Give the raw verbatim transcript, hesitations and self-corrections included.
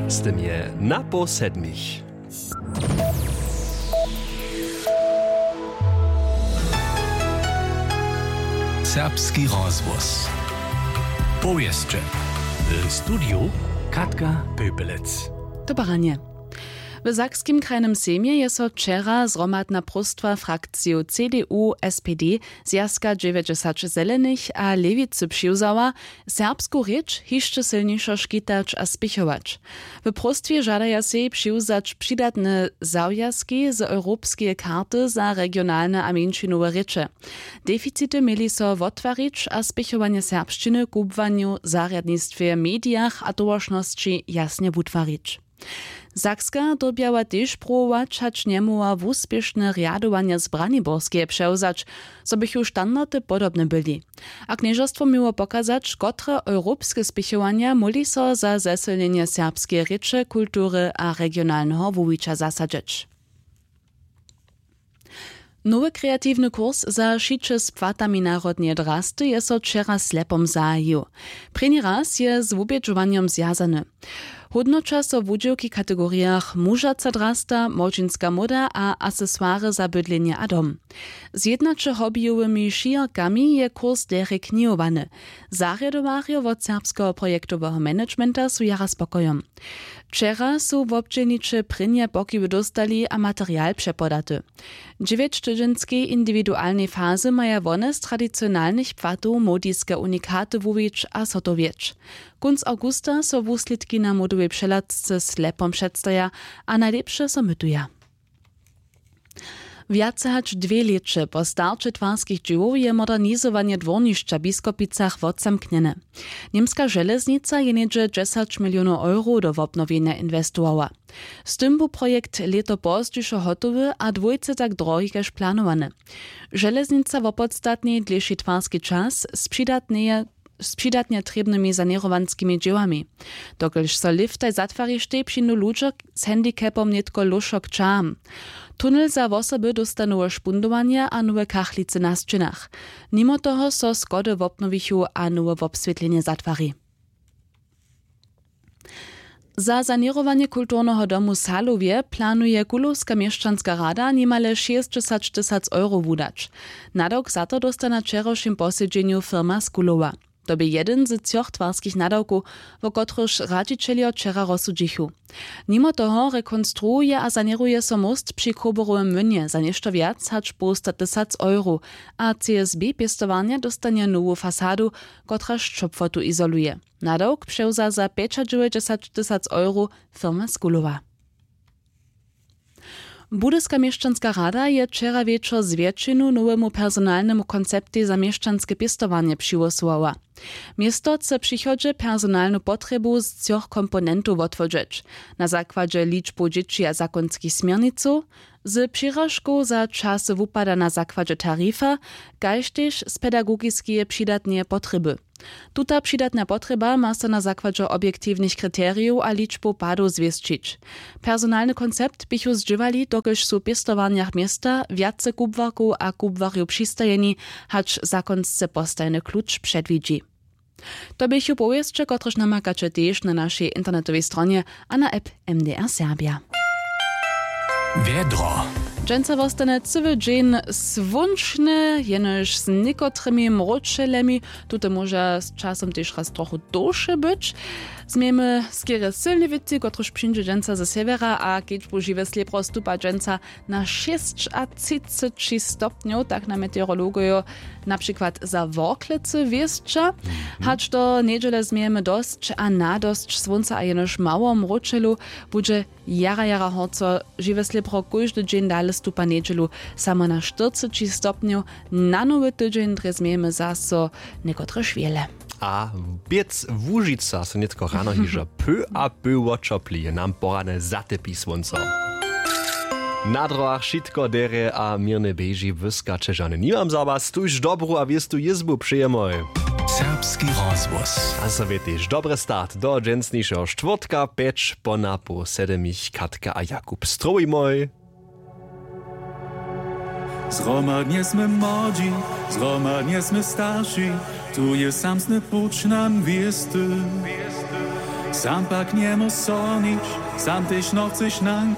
Z tym je na poł sedmich. Serbski rozhłos. Powěsće. W studiju Katka Pöpelec. Dobre ranje. W Sakskim krajnym sejmje je so wčera zhromadna próstwa frakciju C D U, S P D, Zwjazka dźewjećdźesat zelenych a Lěwicy přiwzała, serbsku rěč hišće sylnišo škitać a spěchować. W próstwje žadaja sej přiwzać přidatne zawjazki z europskeje karty za regionalne a mjeńšinowe rěče. Deficity měli so wottwarić a spěchowanje serbšćiny w kubłanju, zarjadnistwje, medijach a towaršnosći jasnje wutwarić. Sakska dyrbjała tež pruwować, hač njemohła wuspěšne rjadowanja z Braniborskeje přewzać, zo běchu standardy podobne byli. A knježerstwo měło pokazać, kotre europske spěchowanja móhli so za zesylnjenje serbskeje rěče, kultury a regionalneho wuwića zasadźeć. Nowy kreatiwny kurs za šiće z płatami narodneje drasty je so wčera Slepom zahajił. Prěni raz je z wubědźowanjom zwjazany. Hódnoća so wudźěłki w kategorijach mužaca drasta, młodźinska móda a aksesoary za bydlenje a dom. Z jědnaće hobbyjowymi šijorkami je kurs derje knihowany. Zarjadowarjo wot serbskeho projektoweho managementa su jara spokojom. Wčera su wobdźělniće prěnje pokiwy dóstali a material přepodaty. Dźewjećtydźenskej indiwidualnej fazy maja wone z tradicionalnych płatow młodiske unikaty wuwić a zhotowjeć. Kónc awgusta so wuslědki na młodowej přehladce Slepom předstaja a najlěpše so mytuja. Wjace hač dwě lěće po starće twarskich dźěłow je modernizowanje dwórnišća w Biskopicach wotzamknjene. Němska železnica je něhdźe dźesać milionow eurow do wobnowjenja inwestowała. Z tym bu projekt lěto pozdźišo hotowy a dwójce tak drohi kaž planowany. Železnica wopodstatni dlěši twarski čas z přidatneje z přidatnje trěbnymi saněrowanskimi dźěłami. Dokelž so lěftaj zatwarištej přińdu ludźo z handicapom nětko lóšo k ćaham. Tunel za wosoby dósta nowe špundowanje a nowe kachlicy na sćěnach. Nimo toho so schody wobnowichu a nowe wobswětlenje zatwari. Za saněrowanje kulturneho domu w Salowje planuje kulowska měšćanska rada nimale šěsćdźesat tysac euro wudać. Nadawk za to dósta na wčerawšim posedźenju firma z Kulowa. To bě jedyn z třoch twarskich nadawkow, wo kotrychž radźićeljo wčera rozsudźichu. Nimo toho rekonstruuje a saněruje so móst při Chroborowym młynje za něšto wjac hač połsta tysac euro, a C S B pěstowarnja dóstanje nowu fasadu, kotraž ćopłotu izoluje. Nadawk přewza za pjećadźewjećdźesat tysac euro firma z Kulowa. Budyska měšćanska rada je wčera wječor z wjetšinu nowemu personalnemu konceptej za měšćanske pěstowarnje přihłosowała. Město chce w přichodźe personalnu potrjebu z třoch komponentow wotwodźeć: na zakładźe ličbow dźěći a zakonskich směrnicow, z přiražkow za časy wupada na zakładźe tarifa, kaž tež z pedagogiskeje přidatneje potrjeby. Tuta přidatna potrjeba ma so na zakładźe objektiwnych kriterijow a ličbow padow zwěsćić. Personalny koncept běchu zdźěłali, dokelž su w pěstowarnjach města wjace kubłarkow a kubłarjow přistajeni, hač zakonsce postajeny kluč předwidźi. To běchu powěsće, kotrež namakaće tež na našej internetowej stronje a na app M D R Serbia. Wjedro. Dźensa wostanje cyły dźeń słónčny, jenož z někotrymi mróčelemi. Tute móža z časom tež raz trochu dołše być. Změjemy skerje sylny wětři, kotryž přińdźe dźensa ze sewjera, a kedźbu žiwe slěpro stupa dźensa na šěsćatřiceći stopnjow, tak na meteorologojo na přikład za Worklecy wěsća. Hač do njedźele změjemy dosć a nadosć słónca a jenož mało mróčelu. Budźe jara jara horco. Žiwe slěpro kóždy dźeń dale stupa njedźelu samo na štyrceći stopnjow. Na nowy tydźeń drje změjemy zaso někotrež wjele. A běc Łužica so nětko rano hižo py a py woćopli, nam porane zatepi słónco. Na drogach wšitko derje a měrnje běži, wyskaće žane nimam za was, tuž dobru a wěstu jězbu přejemoj. Serbski rozhłos. A so wě tež dobry start do dźensnišeho štwórtka, pjeć po napoł sedmich. Katka a Jakub, strowimoj. Zhromadnje smy młodźi, zhromadnje smy starši, tu je samsny puć nam wěsty. Sam pak njemóž so nič, sam tež nochceš nań.